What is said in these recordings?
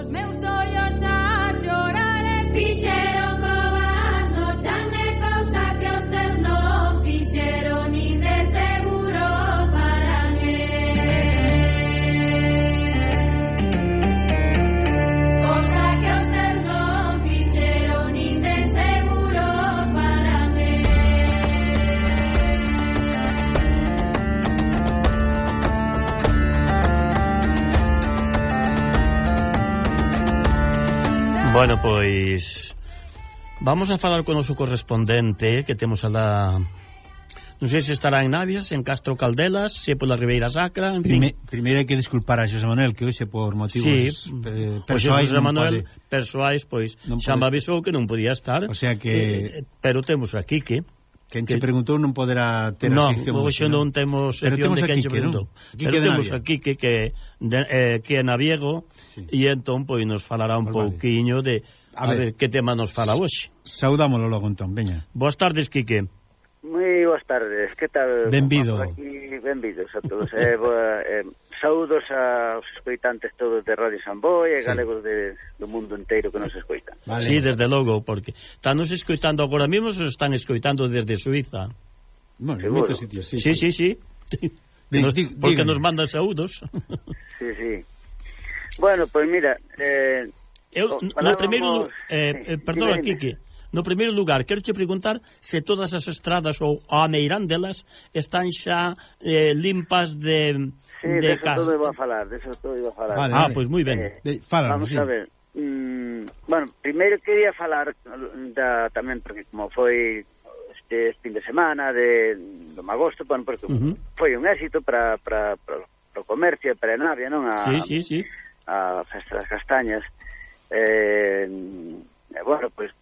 os meus ollos a chorar e fixeron covas no chan e cousa que os teus non fixeron nin de seguro farán cousa que os teus non fixeron nin de seguro farán Bueno, pois vamos a falar con o noso correspondente que temos alá. Non sei se estará en Navias, en Castro Caldelas, se pola Ribeira Sacra, en fin. Primeiro hai que disculpar a Xosé Manuel, que hoxe por motivos persoais Xosé Manuel, persoais, pois xa me avisou que non podía estar. O sea que pero temos aquí que quen se preguntou non poderá ter a sección. Non, hoxe non temos sección de quen se preguntou. Pero temos aquí que é naviego, e entón pois nos falará un pouquiño de a ver que tema nos fala hoxe. Saudámoslo logo entón, veña. Boas tardes, Quique. Moi boas tardes, que tal? Benvido. Benvidos a todos. Saúdos aos escoitantes todos de Radio Samboy e galegos do mundo inteiro que nos escoitan. Vale. Sí, desde logo, porque están nos escoitando agora mesmo, se están escoitando desde Suiza. Bueno, en moitos sitios, sí. Porque nos mandan saúdos. Sí. Bueno, pois mira, no primeiro perdona, Quique. No primeiro lugar, quero che preguntar se todas as estradas ou a meirán delas están xa limpas de de casa. Todo iba a falar, de eso todo iba a falar. Vale. Pois moi ben. Vamos a ver. Bueno, primeiro quería falar tamén porque como foi este fin de semana do agosto, bueno, porque foi un éxito para o comercio e para a Navia, non? Sí. A Festa das Castañas. Bueno, pois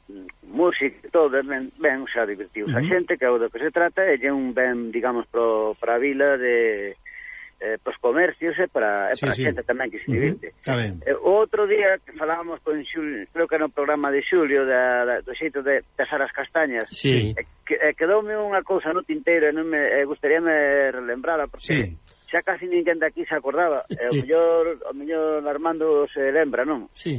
música e todo, ben xa divertidos a xente, que é o do que se trata, e é un ben, digamos, para a vila de pros comercios e para a xente tamén que se divirte. Outro día que falábamos con Xulio, creo que era no programa de Xulio do xeito de asar as castañas, quedoume unha cousa no tinteiro e non me gustaríame relembrala porque xa casi ninguén de aquí se acordaba, o mellor Armando se lembra, non? Sí.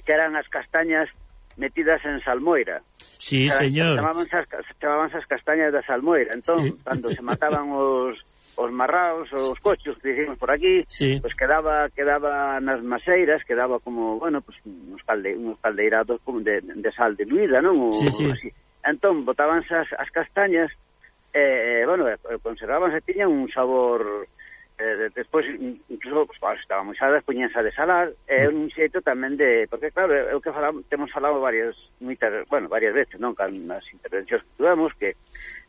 Que eran as castañas metidas en salmoira. Sí, señor. Chamabanse as castañas da salmoira. Entón, cando se mataban os marraos, os cochos que dicimos por aquí, pues quedaba nas maseiras, quedaba como, bueno, pues uns caldeirados de sal diluída, non? Así. Entón, botábanse as castañas, bueno, conservábanse, tiñan un sabor... despois, incluso, pues, estaban moi saladas, poñíanse a desalar, é un xeito tamén de... Porque, claro, é o que temos falado varias veces, non? Nas intervencións que tuvemos, que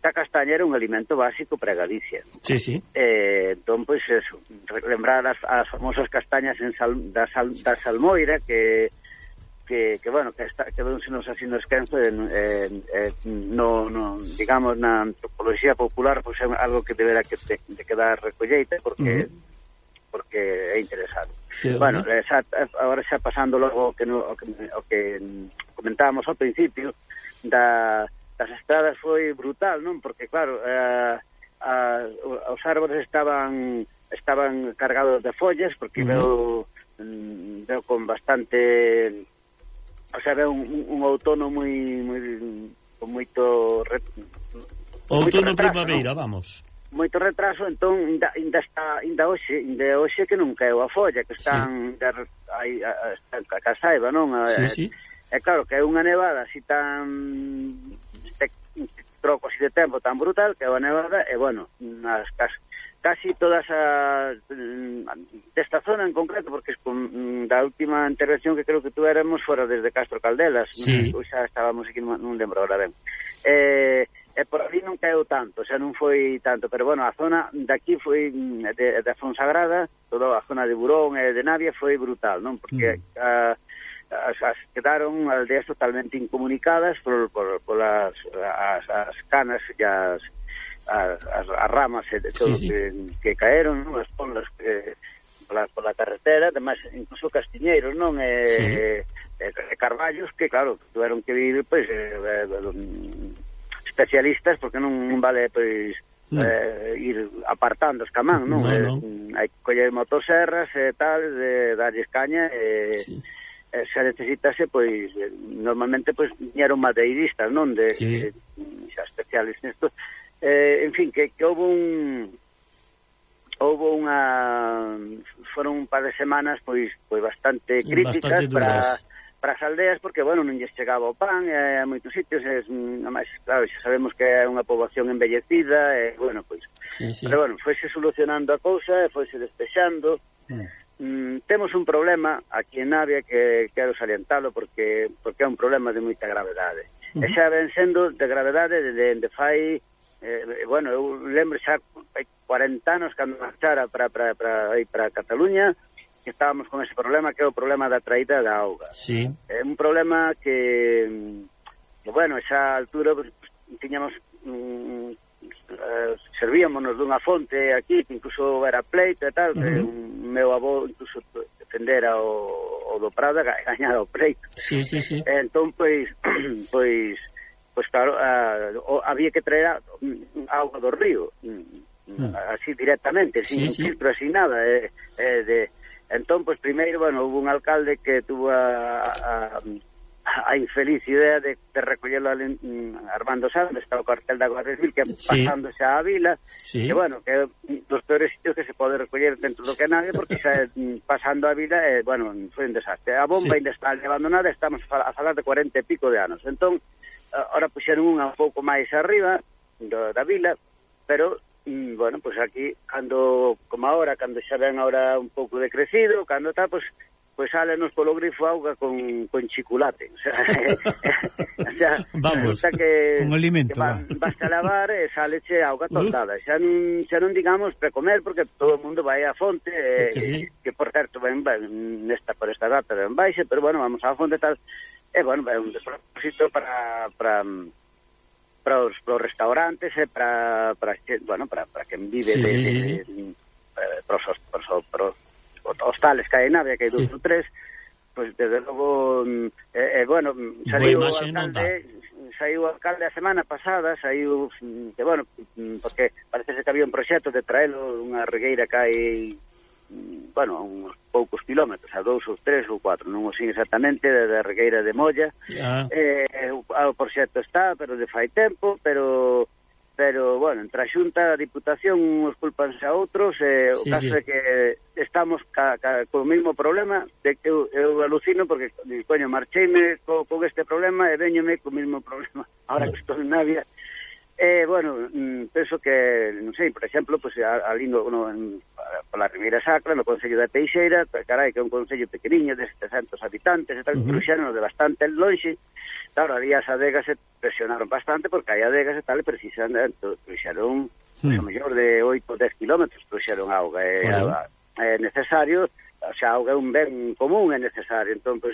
a castaña era un alimento básico para Galicia. Sí. Entón, pois, eso, lembrar as famosas castañas da salmoira, que bueno, que quedónsenos así no esquenzo no, digamos, na antropoloxía popular, pois é algo que deberá de quedar recolleita porque é interesante. Bueno, agora xa pasando logo o que comentábamos ao principio das estradas foi brutal, non? Porque claro, os árbores estaban cargados de follas porque veo con bastante... O sea, veo un outono con moito primavera, vamos. Moito retraso, entón ainda hoxe que non caeu a folla, que están a casaiba, non? É claro que é unha nevada así tan troco así de tempo tan brutal, que é unha nevada, e bueno, casi todas desta zona en concreto, porque da última intervención que creo que tuéramos fora desde Castro Caldelas, xa estábamos aquí, non lembro ahora ben, e por ali non caeu tanto, xa non foi tanto, pero bueno, a zona daqui foi de Fonsagrada, toda a zona de Burón e de Navia foi brutal, non? Porque quedaron aldeas totalmente incomunicadas por as canas e as ramas e todo que caeron, non? As ponlas pola carretera, además incluso castiñeiros, non? Carballos que, claro, tuveron que vir, pois, especialistas, porque non vale, pois, ir apartando os camán, non? Hai que coller motoserras e tal, darlles caña se necesitase, pois normalmente pois eran madeiristas, non, de xa especiales nesto. En fin, que houve unha foron un par de semanas pois bastante críticas para as aldeas, porque, bueno, non lles chegaba o pan a moitos sitios, máis, claro, xa sabemos que é unha poboación envellecida, bueno, pois, pero, bueno, foise solucionando a cousa, foise despexando. Temos un problema aquí en Navia que quero salientalo porque é un problema de moita gravedade. E xa ven sendo de gravedade de fai, bueno, eu lembro xa 40 anos cando marchara para Cataluña, que estábamos con ese problema, que é o problema da traída da auga. Sí. É un problema que bueno, esa altura pues, tiñamos servíamonos dunha fonte aquí, que incluso era pleito e tal, que meu avó incluso defendera o do Prada, gañara o pleito. Sí. Entón, pois claro, había que traer auga do río, así directamente, sin filtro, sin nada, entón, pois, primeiro, bueno, hubo un alcalde que tuvo a infeliz idea de recollerlo Armando Sanz, está o cartel da Guardia Civil, que pasándose á vila, que, bueno, que dos peores sitios que se pode recoller dentro do que nadie, porque xa pasando a vila, bueno, foi un desastre. A bomba ainda está abandonada, estamos a falar de 40 e pico de anos. Entón, ahora puxeron unha un pouco máis arriba da vila, pero bueno, pues aquí, como ahora, cando xa ven ahora un pouco decrecido, cando está, pues sálenos polo grifo auga con chiculate. O sea, vamos, que un alimento, basta lavar e sáleche auga tostada. Xa non digamos precomer, porque todo o mundo vai á fonte, que por certo ven por esta data ven baixe, pero bueno, vamos á fonte tal, e bueno, é un despropósito para os restaurantes e para quen vive para os hostales que hai en Navia, que hai 2 ou 3, pois desde logo bueno, saiu o alcalde a semana pasada, saiu que, bueno, porque parece que había un proxecto de traelo unha regueira que hai, bueno, a uns poucos kilómetros, a 2 ou 3 ou 4, non o sei exactamente, da regueira de Molla. O proxecto está, pero de fai tempo, pero bueno, entre a Xunta, a Diputación, uns culpanse a outros, o caso é que estamos co mesmo problema, de que eu alucino, porque, coño, marcheime con este problema e veñome co mesmo problema, ahora que estou en Navia. Bueno, penso que, non sei, por exemplo, pues, ali pola Ribeira Sacra, no Concello da Teixeira, carai, que é un concello pequeniño de 700 habitantes e tal, cruxeron de bastante lonxe. Claro, ali as adegas se presionaron bastante, porque hai adegas e tal, e precisamente cruxaron, a mellor de 8 ou 10 kilómetros, cruxaron auga, é necesario, o sea, auga é un ben común, é necesario, entón, pues,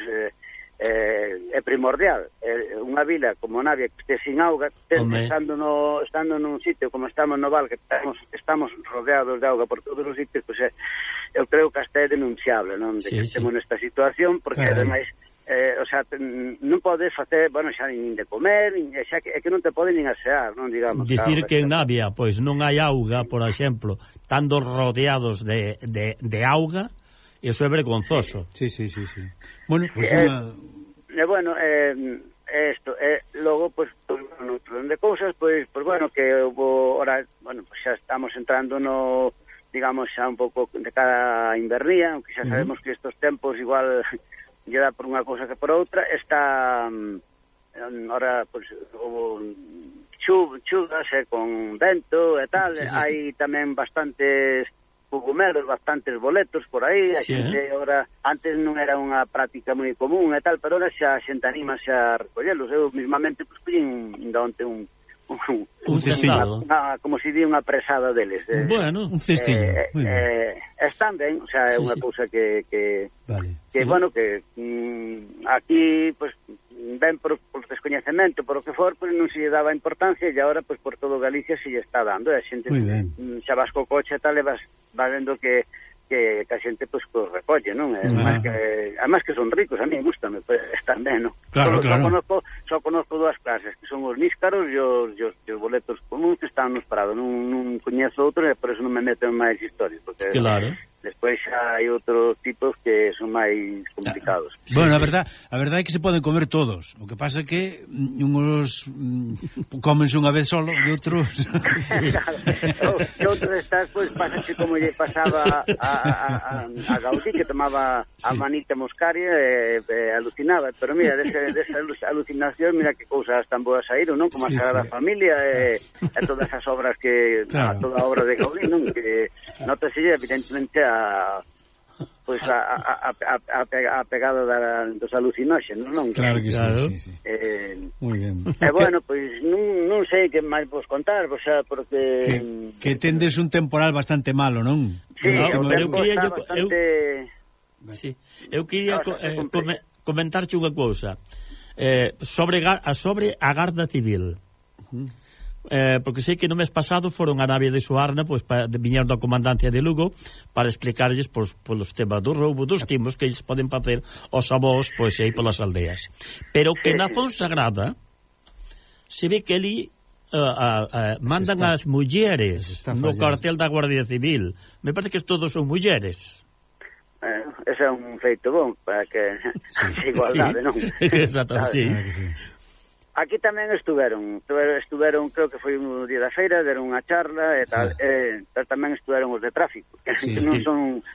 é primordial. Unha vila como Navia que este sin auga, estando nun sitio como estamos no Val, que estamos rodeados de auga por todos os sitios, pues, eu creo que hasta é denunciable, non, de que estemos nesta situación, porque ademais o sea, non podes facer, bueno, xa nin de comer, xa é que non te poden nin asear, non, digamos. Dicir que en Navia, pois, non hai auga, por exemplo, estando rodeados de auga, eso é vergonzoso. Sí. Bueno, pues bueno, isto, logo, pues, no orden de cousas, pues bueno, que hubo, ahora, bueno, pues xa estamos entrando no, digamos, xa un pouco de cada invernía, aunque xa sabemos que estos tempos igual lle dá por unha cousa que por outra, está, ahora, pues, hubo chuvas con vento e tal, hai tamén bastantes cogumelos, bastantes boletos por aí, a xente ahora, antes non era unha práctica moi común e tal, pero ahora xa a xente anima a recollelos. Eu mismamente pues collín onte un cestado, como se di unha presada deles. Bueno, un cestillo. Están ben, o sea, é unha cousa que bueno, que aquí, pues, ben por descoñecemento, por o que for, pues, non se lle daba importancia, e agora, pues, por todo Galicia se lle está dando, e a xente xa vas co coche e tal, e vas vendo que a xente, pues, recolle, non? Además que son ricos, a mí gustame, pues, están ben, non? Claro. Só conozco dúas clases, que son os níscaros e os boletos comuns que están nos parados, non coñezo outros, e por eso non me meto en máis historias, porque claro, despois hai outros tipos que son máis complicados. Bueno, a verdade é que se poden comer todos. O que pasa é que uns comense unha vez solo e outros... E outros estás, pois, pásase como lle pasaba a Gaudí, que tomaba a manita moscaria e alucinaba. Pero mira, desa alucinación, mira que cousas tan boas saíron, non? Como a Sagrada Familia e todas as obras que... Toda a obra de Gaudí, non? Que notase evidentemente a pegada dos alucinóxenos, non? Claro que sí. Muy ben. Bueno, pois non sei que máis vos contar, o sea, porque... Que tendes un temporal bastante malo, non? Sí, o tempo está bastante... Sí, eu quería comentarche unha cousa sobre a Garda Civil. Porque sei que no mes pasado foron a nave de Suarna, pois viñeron da comandancia de Lugo para explicarlles polos temas do roubo dos timos que eles poden facer os avós pois aí polas aldeas. Pero que na Fonsagrada se ve que ali mandan as mulleres no cartel da Guardia Civil. Me parece que todos son mulleres. Ese é un feito bom para que haxa igualdade, non? Exactamente, sí. Aquí tamén estuveron, creo que foi un día da feira, deron unha charla e tal, tamén estuveron os de tráfico, que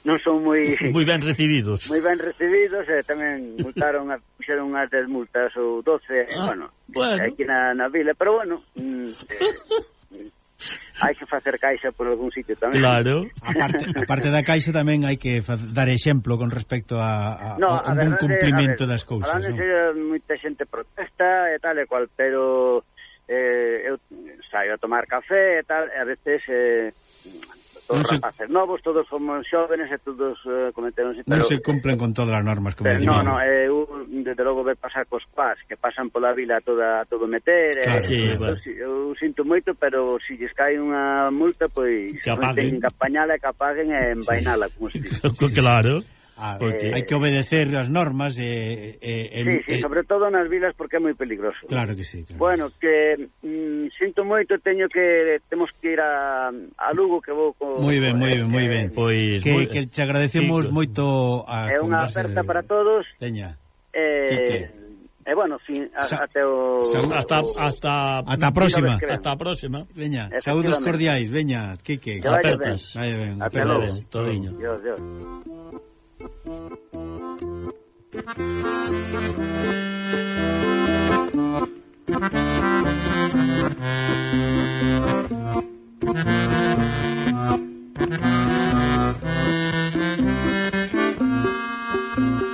non son moi ben recibidos. Moi ben recibidos, e tamén multaron, puxeron unhas 10 multas ou 12, bueno, aquí na vila, pero bueno, hai que facer caixa por algún sitio tamén. Claro. Aparte da caixa tamén hai que dar exemplo con respecto a un bon cumplimento das cousas. Moita xente protesta e tal e cual, pero eu saio a tomar café e tal, e a veces todos rapaces novos, todos somos xóvenes e todos cometeron... Non se cumplen con todas as normas, como digo. Non, eu desde logo ver pasar cos pás que pasan pola vila todo meter. Eu sinto moito, pero se lles cae unha multa, pois ten que apañala, que apaguen e envainala, como se dice. Claro. Hai que obedecer as normas sí, sobre todo nas vilas, porque é moi peligroso. Claro que sí. Bueno, que sinto moito, temos que ir a Lugo, que vou moi ben. Pois que te agradecemos moito a conversa. É unha aperta para todos. Teña. Bueno, até a próxima. Hasta a próxima. Veña, saúdos cordiais, veña, Quique. Apertas. Vai ben, apertas. Todiño. Dios.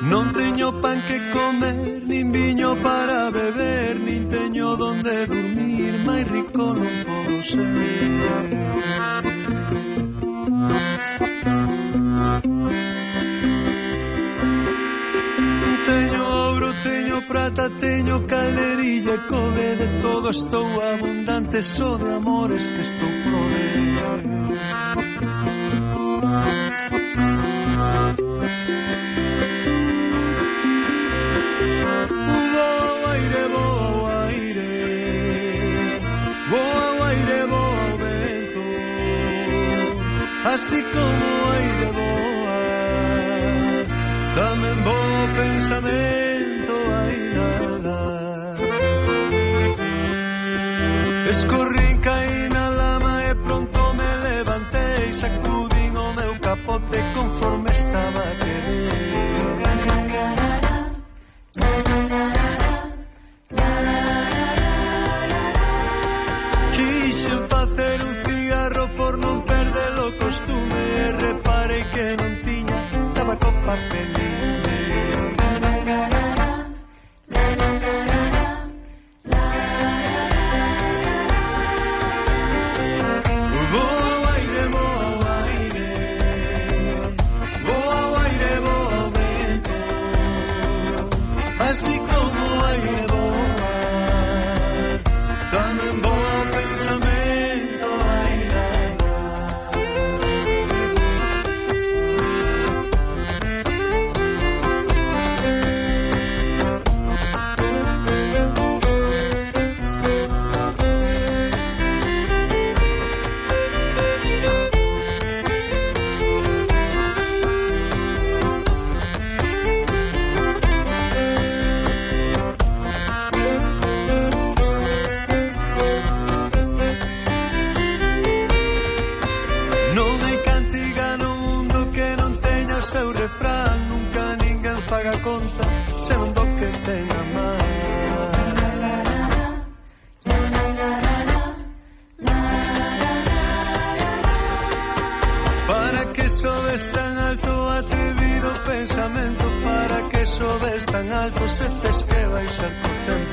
Non teño pan que comer, nin viño para beber, nin teño donde dormir, máis rico non podo ser. Teño ouro, teño prata, teño calderilla e cobre, de todo estou abundante, só de amores que estou prover. Así como aire boa, tamén bo pensamento hai nada. Escorrín, caí na lama e pronto me levantei, sacudín o meu capote conforme estaba a querer. Quixen facer un cigarro por non perder o costume, e reparei que non tiña tabaco pa pedirme. Boa aire, vento, así como aire boa, tamén boa pensamento hai nada. seu refrán, nunca ninguén faga conta se non do que ten a man. Para que sobes tan alto, atrevido pensamento, para que sobes tan alto, se tes que baixar co tempo.